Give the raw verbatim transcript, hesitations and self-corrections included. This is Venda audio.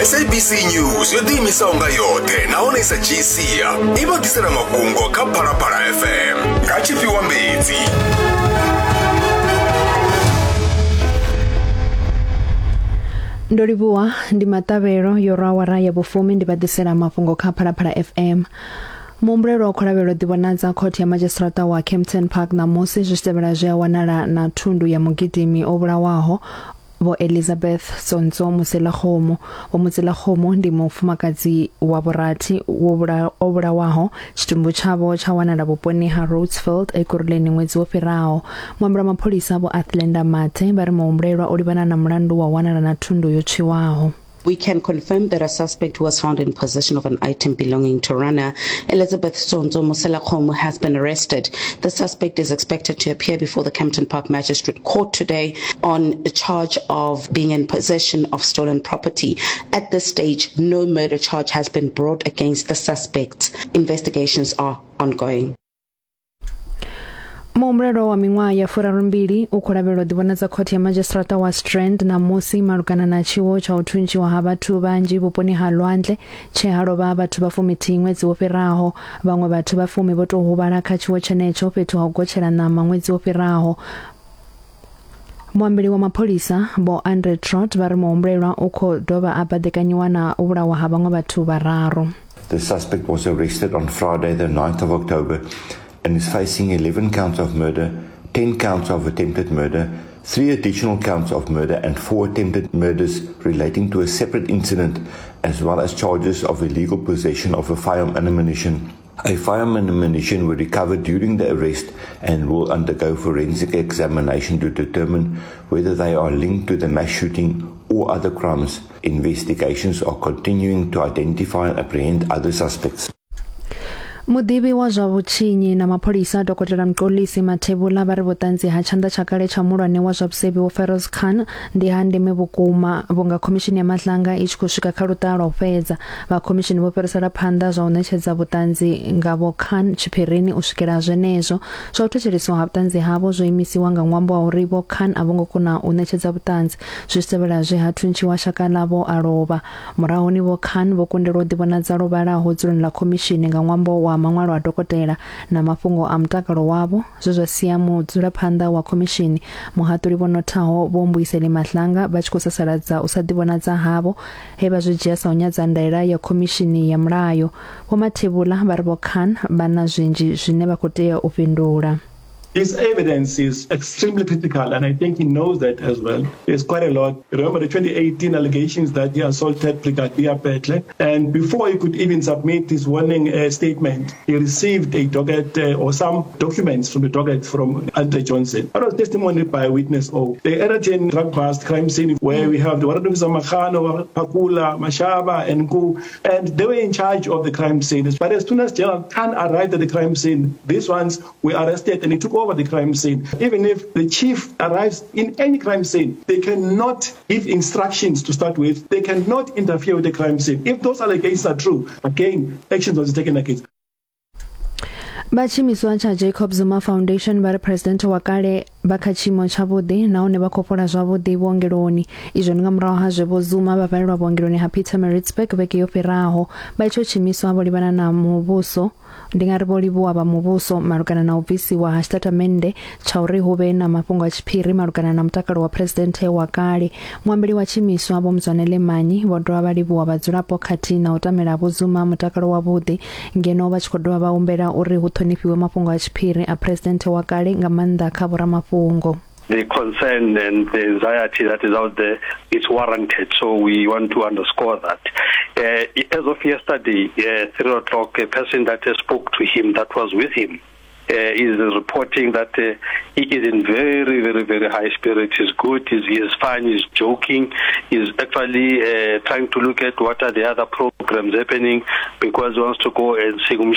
S A B C News yo ḓiimisaho nga yoṱhe nahone i sa dzhii sia i vha ḓisela mafhungo kha Phalaphala F M nga Tshifhiwa Mbedzi. Ndo livhuwa, ndi maṱavhelo yo rwa awara ya vhufumi, ndi vha ḓisela mafhungo kha Phalaphala F M. Muhumbulelwa wa kholavhelo ḓivhonadza khothe ya madzhisiṱiraṱa wa Kempton Park ṋamusi zwi tshi tevhela zwe a wanala na thundu ya mugidimi o vhulawaho Vho Elizabeth Tsontso Moselakgomo. Vho Moselakgomo ndi mufumakadzi wa vhurathi wo vhula- o vhulawaho, tshitumbu tshavho tsha wanala vhuponi ha Rhodesfield Ekurhuleni ṅwedzi wo fhiraho. Muambeli wa mapholisa Vho Athlenda Mathe vha ri muhumbulelwa o livhana na mulandu wa u wanala na thundu yo tswiwaho. We can confirm that a suspect who was found in possession of an item belonging to runner Elizabeth Tsonzo Moselakgomo has been arrested. The suspect is expected to appear before the Kempton Park Magistrate Court today on a charge of being in possession of stolen property. At this stage, no murder charge has been brought against the suspects. Investigations are ongoing. Muhumbulelwa wa miṅwaha ya furarumbili u khou lavhelelwa u ḓivhonadza khothe ya madzhisiṱiraṱa wa Strand ṋamusi malugana na tshiwo tsha u thuntshiwa ha vhathu vhanzhi vhuponi ha lwandle tshe ha lovha vhathu vha fumithihi ṅwedzi wo fhiraho. Vhaṅwe vhathu vha fumi vho tou huvhala kha tshiwo tshenetsho fhethu ha u gotshela ṋama ṅwedzi wo fhiraho. Muambeli wa mapholisa Vho Andre Trott vha ri muhumbulelwa u khou dovha a baḓekanyiwa na u vhulawa ha vhaṅwe vhathu vhararu. The suspect was arrested on Friday, the ninth of October, and is facing eleven counts of murder, ten counts of attempted murder, three additional counts of murder, and four attempted murders relating to a separate incident, as well as charges of illegal possession of a firearm and ammunition. A firearm and ammunition were recovered during the arrest and will undergo forensic examination to determine whether they are linked to the mass shooting or other crimes. Investigations are continuing to identify and apprehend other suspects. Muḓivhi wa zwa vhutshinyi na mapholisa Dokotela Mxolisi Mathebula vha ri vhuṱanzi ha tshanḓa tsha kale tsha muhulwane wa zwa vhusevhi Vho Feroz Khan ndi ha ndeme vhukuma vhunga khomishini ya Madlanga i tshi khou swika kha luṱa lwa u fhedza. Vha khomishini vho fhirisela phanḓa zwa u ṋetshedza vhuṱanzi nga Vho Khan tshiphirini u swikela zwenezwo. Zwa u thetsheleswa ha vhuṱanzi havho zwo imisiwa nga ṅwambo wa uri Vho Khan a vho ngo kona u ṋetshedza vhuṱanzi zwi tshi tevhela zwe ha thuntshiwa shaka ḽavho a lovha. Murahuni Vho Khan vho kundelwa u ḓivhonadza lwo vhalaho dzuloni ḽa khomishini nga ṅwambo wa maṅwalo a dokotela na mafhungo a mutakalo wavho, zwe zwa sia mudzulaphanḓa wa khomishini muhaṱuli Vho Nothaho Vho Mbuyiseli Madlanga vha tshi khou sasaladza u sa ḓivhonadza havho, he vha zwi dzhia sa u nyadza ndaela ya khomishini ya mulayo. Vho Mathebula vha ri Vho Khan vha na zwinzhi zwine vha khou tea u fhindula. His evidence is extremely critical, and I think he knows that as well. There's quite a lot. Remember the twenty eighteen allegations that he assaulted Brigadier Petle, and before he could even submit his warning uh, statement, he received a docket uh, or some documents from the docket from Andre Johnson. That was testimony by witness O. The Eraton drug bust crime scene, where we have the warrant officer Makhano, Pakula, Mashaba, and Ku, and they were in charge of the crime scene. But as soon as General Khan arrived at the crime scene, these ones were arrested and he took over the crime scene. Even if the chief arrives in any crime scene, they cannot give instructions to start with. They cannot interfere with the crime scene. If those allegations are true, again, actions was taken against. Vha tshiimiswa tsha Jacob Zuma Foundation vha ri president wa kale vha kha tshiimo tshavhuḓi nahone vha khou fhola zwavhuḓi vhuongeloni. Izwo ndi nga murahu ha zwe Vho Zuma vha valelwa vhuongeloni ha Pietermaritzburg vhege yo fhiraho. Vha itsho tshiimiswa vho livhana na muvhuso, ndi nga ri vho livhuwa vha muvhuso malugana na u bvisiwa ha tshitatamennde tsha uri hu vhe na mafhungo a tshiphiri malugana na mutakalo wa presidenthe wa kale. Muambeli wa tshiimiswa Vho Mzwanele Manyi vho dovha vha livhuwa vhadzulapo khathihi na u tamela Vho Zuma mutakalo wavhuḓi, ngeno vha tshi khou dovha vha humbela uri hu ṱhonifhiwe mafhungo a tshiphiri a presidenthe wa kale, nga maanḓa kha vhoramafhungo. The concern and the anxiety that is out there is warranted. So we want to underscore that. Uh, as of yesterday, uh, three o'clock, a person that spoke to him, that was with him, uh, is reporting that uh, he is in very, very, very high spirits. He's good, he's, he's fine, he's joking, he's actually uh, trying to look at what are the other programs happening because he wants to go and sing.